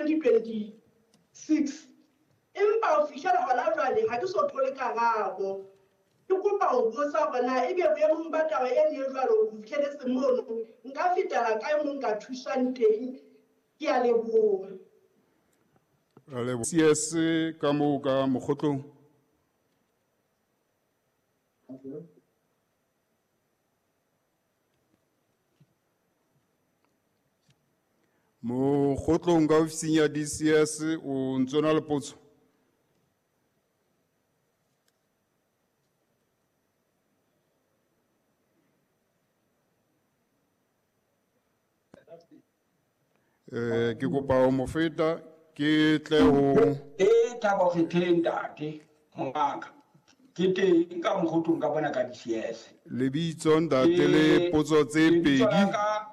2026 empa ho fihlela hona jwale ha ke so thole karabo. Ke kopa ho botsa hore na ebe boemong ba taba eno e jwalo ho fihleletse mono nka fetela kae moo nka thuswang teng? Ke a leboha. Ra leboha. CS ka moo ka mokgotlong. Mokgotlong ka ofising ya DCS o ntso na le potso? Eh ke kopa ho mo feta ke tle ho E Thabo Kgetheng ntate mongaka ke teng ka mokgotlong ka bona ka DCS. Lebitso ntate le potso tse Lebitso la pedi. ka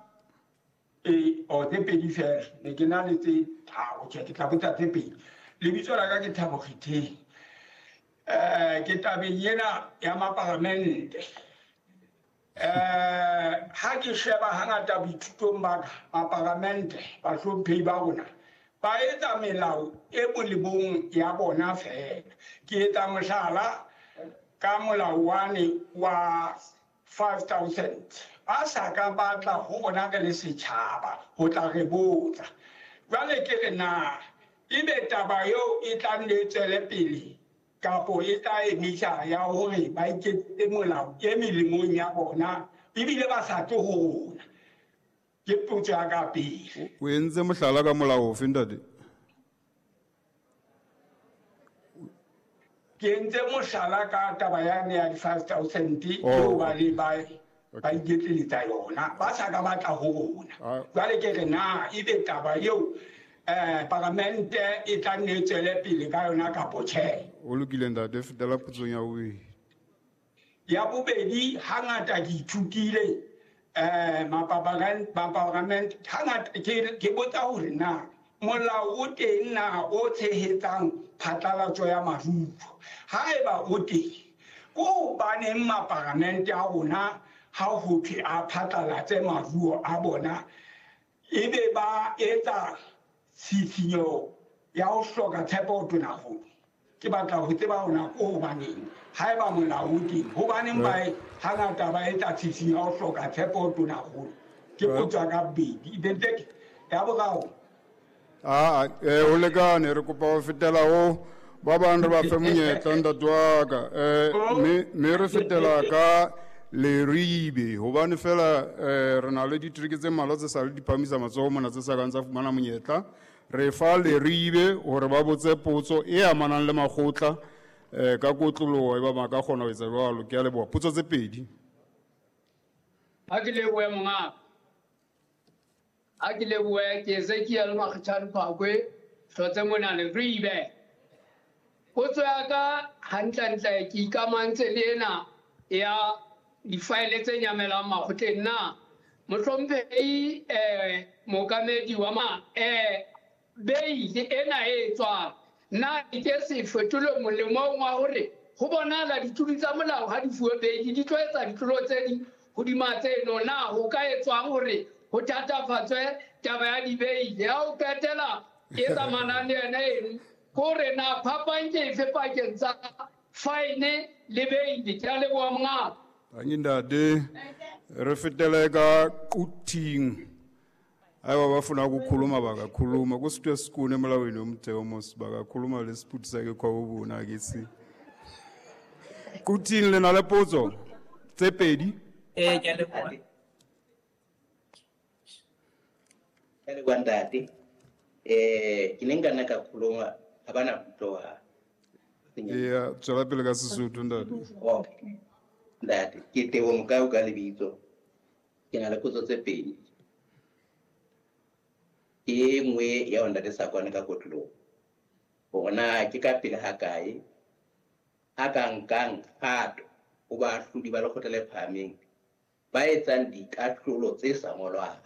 Ee, oh, tse pedi fela. Ne ke na le tse tharo, tjhe, ke tla botsa tse pedi. Lebitso la ka ke Thabo Kgetheng. Ke tabeng ena ya maparamente. Ha ke sheba hangata boithutong ba ka, maparamente, bahlomphehi ba rona, ba etsa melao e molemong ya bona feela. Ke etsa mohlala ka molao wane wa 5000 ba sa ka ba tla ho rona re le setjhaba ho tla re botsa. Jwale ke re na ebe taba eo e tla nne e tswele pele kapo e tla emisa ya hore ba iketsetse molao e melemong ya bona ebile ba sa tle ho rona? Ke potso ya ka pele. O entse mohlala ka molao ofe ntate? Ke entse mohlala ka taba yane ya di-5000 eo ba le ba ba iketleletsa yona ba sa ka batla ho rona. Jwale ke re na ebe taba eo paramente e tla nne e tswele pele ka yona kapo tjhe? O lokile ntate, fetela potsong ya bobedi. Ya bobedi, hangata ke ithutile maparamente hangata ke botsa hore na molao o teng na o tshehetsang phatlalatso ya maruo. Haeba o teng, ke hobaneng maparamente a rona ha ho thwe a phatlalatse maruo a bona ebe ba etsa tshisinyo ya ho hloka tshepo ho Tonakgolo? Ke batla ho tseba hore na ke hobaneng haeba molao o teng, hobaneng ba hangata ba etsa tshisinyo ya ho hloka tshepo ho Tonakgolo? Ke potso ya ka bobedi. Ebe ya boraro. Aa, ho lekane, re kopa ho fetela ho ba bang re ba fe monyetla ntate wa ka. Mme re fetela ka Leribe hobane fela re na le ditereke tse mmalwa tse sa le di phamisa matsoho mona tse sa kang tsa fumana monyetla. Re fa Leribe hore ba botse potso e amanang le makgotla ka kotloloho e ba ba ka kgona ho etsa jwalo. Ke a leboha. Potso tse pedi. Ha ke lebohe mongaka. Ha ke lebohe ke Ezekiel Makgetjhane Phakwe hlotse mona Leribe. Potso ya ka hantlentle ke ikamantse le ena ya difaele tse nyamelang makgotleng na mohlomphehi mookamedi wa ma beile ena e tswang na e ke se fetolwe molemong wa hore ho bonahala ditlolo tsa molao ha di fuwe beile di tlo etsa ditlolo tse ding hodima tseno na ho ka etswang hore ho thatafatswe taba ya dibeile ya ho qetela e tsamanang le yona eno kore na phapang ke efe pakeng tsa fine le beile? Ke a leboha mongaka. Tanki ntate, re fetele ka Quthing. Haeba ba funa ukukhuluma bakakhuluma kusitwe sikune emolawini womtheo mos bakakhuluma lesiphuthi sakhe khwabobona ke se. Quthing le na le potso tse pedi. Ee, ke a leboha. Ke a leboha ntate. Ke ne nka nna ka khuluma ha bana kutloha. Eya, tswela pele ka Sesotho ntate. Okay. Ntate, ke Teboho Mokau ka lebitso. Ke na le potso tse pedi. Ke e nngwe ya ho ntate Sakwane ka kotloloho. Hore na ke ka pele ha kae a ka nkang kgato ho baahlodi ba lekgotla le phahameng ba etsang dikahlolo tse sa ngolwang.